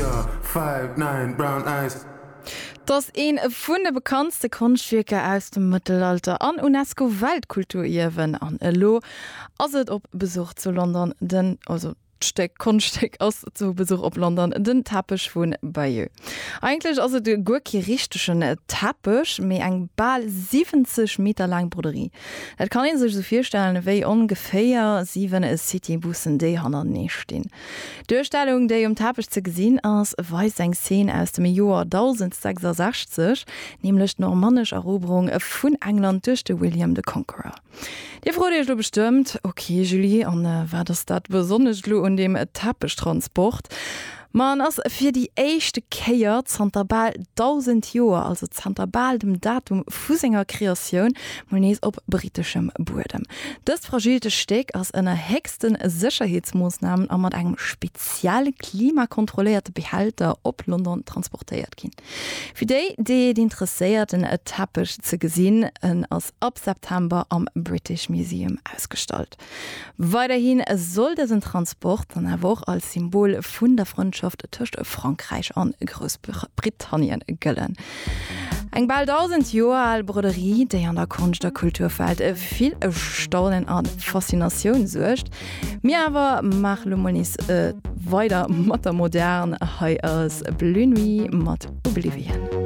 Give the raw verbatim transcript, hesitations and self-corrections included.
your five nine brown eyes. 't ass een vun de bekanntste Konschtwierker aus dem Mëttelalter an UNESCO-Weltkulturierwen an elo ass et op Besuch zu London, den also d'Stéck Konschtstéck ass zu Besuch op London, den Teppech vu Bayeux. Eigentlech ass et guer kee richtegen Teppech, mee eng bal siwwenzeg Meter laang Broderie. Dat kann ee sech esou virstellen ewéi ongeféier siwen Citybussen, déi hannertenee stinn. D'Duerstellung, déi um Teppech ze gesinn ass, weist eng Szene aus dem Joer dausend sechsasechzeg, nämlech d'normannesch Eroberung vun England duerch de William the Conqueror. Dir frot iech lo bestëmmt, Ok Julie, an wat ass dat Besonnescht lo un deem Teppechtransport? Ma en ass fir déi éischte Kéier zanter bal dausend Joer, also zanter bal dem Datum vu senger Kreatioun, mol nees op briteschem Buedem. Dëst fragilt Stéck ass ënner héchste Sécherheetsmoossnamen a mat engem speziell klimakontrolléierte Behälter op London transportéiert ginn. Fir déi, déi et interesséiert den Teppech ze gesinn, en ass ab September am British Museum ausgestallt. Weiderhi soll dësen Transport dann awer och als Symbol vun der Frëndschaft tëscht Frankräich an Groussbritannien gëllen. Eng bal dausend Joer al Broderie, déi an der Konscht a Kulturwelt fir vill Staunen a Faszinatioun suergt. Mir awer maache lo mol nees weider mat der Modern, hei ass Bleu Nuit mat Oblivion.